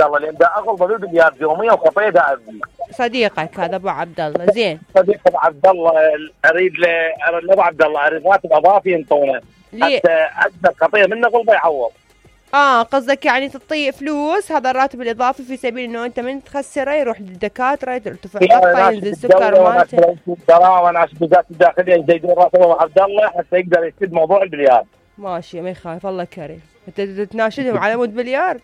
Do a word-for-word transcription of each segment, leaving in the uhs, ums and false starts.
عبد الله لان دا اغلب بالبليار يوميا وخطيه دا ابي. صديقك هذا ابو عبد الله. زين صديق ابو عبد الله اريد ل ابو عبد الله اريد راتب اضافي ينطونه. حتى اكثر خطيه منه قلبه يعوض. اه قصدك يعني تعطيه فلوس هذا الراتب الاضافي في سبيل انه انت من تخسره يروح للدكاتره ترتفع ضغطه ينزل سكر مالته. دراهم وناس بالذات الداخليه يزيدون راتب ابو عبد الله حتى يقدر يسد موضوع البليار. ماشي ما يخالف الله كريم. انت تناشدهم على مود بليار؟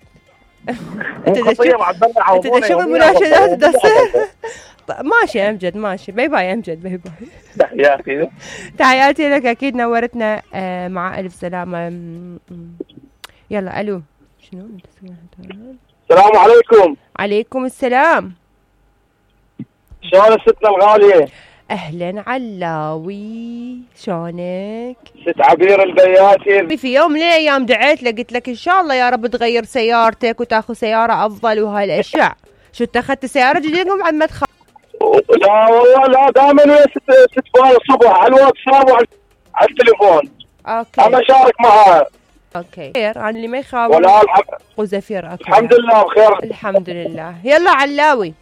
انت انت شغل مناشدات تصير. ماشي امجد ماشي. باي باي امجد باي باي. تحياتي تحياتي لك اكيد نورتنا مع الف سلامه. يلا الو شنو؟ السلام عليكم. عليكم السلام. شلون ستنا الغاليه؟ اهلا علاوي شلونك؟ ست عبير البياتي. في يوم من الايام دعيت لك قلت لك ان شاء الله يا رب تغير سيارتك وتاخذ سياره افضل وهالاشياء. شو اتخذت سياره جديده بعد ما تخ... لا والله لا دائما ويا ست ست فؤاد الصبح على الواتساب وعلى التليفون. اوكي انا اشارك معها. اوكي خير انا اللي ما يخاف ولا الحمد وزفير. اوكي الحمد لله بخير الحمد لله. يلا علاوي.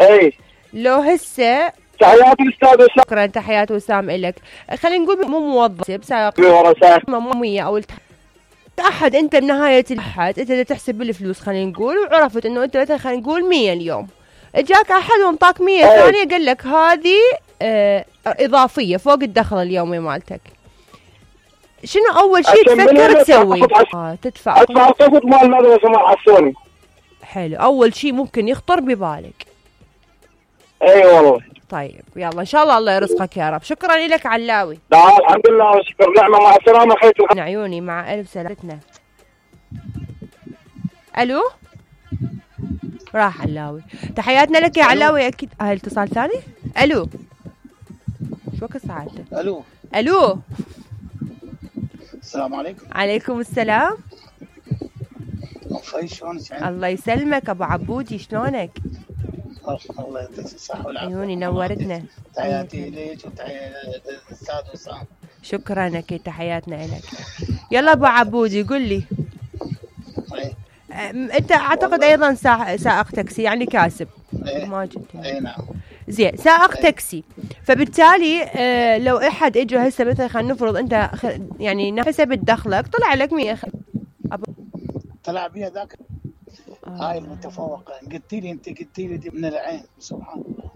اي لو هسه تحياتي الاستاذ وسام. شكرا تحيات وسام الك. خلينا نقول مو موظف سائق مامية او التح... احد انت بنهايه الاحد انت تحسب بالفلوس خلينا نقول وعرفت انه انت مثلا خلينا نقول مية اليوم. اجاك احد وانطاك مية ثانيه قال لك هذه اه اضافيه فوق الدخل اليومي مالتك. شنو اول شيء تفكر تسوي؟ اه تدفع ادفع القسط مال المدرسه مال حسوني. حلو اول شيء ممكن يخطر ببالك. اي والله. طيب يلا ان شاء الله الله يرزقك يا رب. شكرا لك علاوي. لا الحمد لله وشكر نعمه مع السلامه خيتي من عيوني مع الف سلامتنا. الو راح علاوي. تحياتنا لك يا علاوي اكيد. هاي اتصال ثاني. الو شو وقت ساعته؟ الو الو السلام عليكم. عليكم السلام. وفي شلونك؟ الله يسلمك ابو عبودي شلونك؟ الله يعطيك الصحة والعافية. عيوني نورتنا. تحياتي ليك وتحياتي للاستاذ وسام. شكرا اكيد تحياتنا لك. يلا ابو عبودي قل لي. ايه انت اعتقد ايضا سائق تاكسي يعني كاسب. ايه ما جبت. اي نعم. زين سائق ايه. تاكسي فبالتالي آه لو احد اجى هسه مثلا خلينا نفرض انت يعني حسب دخلك طلع لك مية خ... أب... طلع بيها ذاك آه. هاي المتفوقه قلت لي انت قلت لي دي من العين سبحان الله.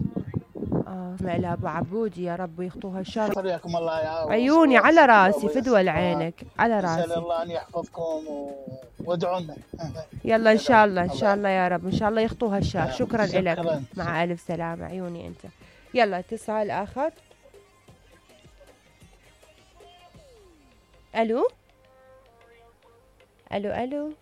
اه اسمع لها ابو عبودي يا رب يخطوها الشر. حياكم الله يا عيوني على راسي فدوى عينك على راسي. اسال الله ان يحفظكم وادعوا لنا. يلا ان شاء الله ان شاء الله يا رب ان شاء الله يخطوها الشر. شكرا لك مع الف سلامه. عيوني انت. يلا اتصال اخر. الو الو الو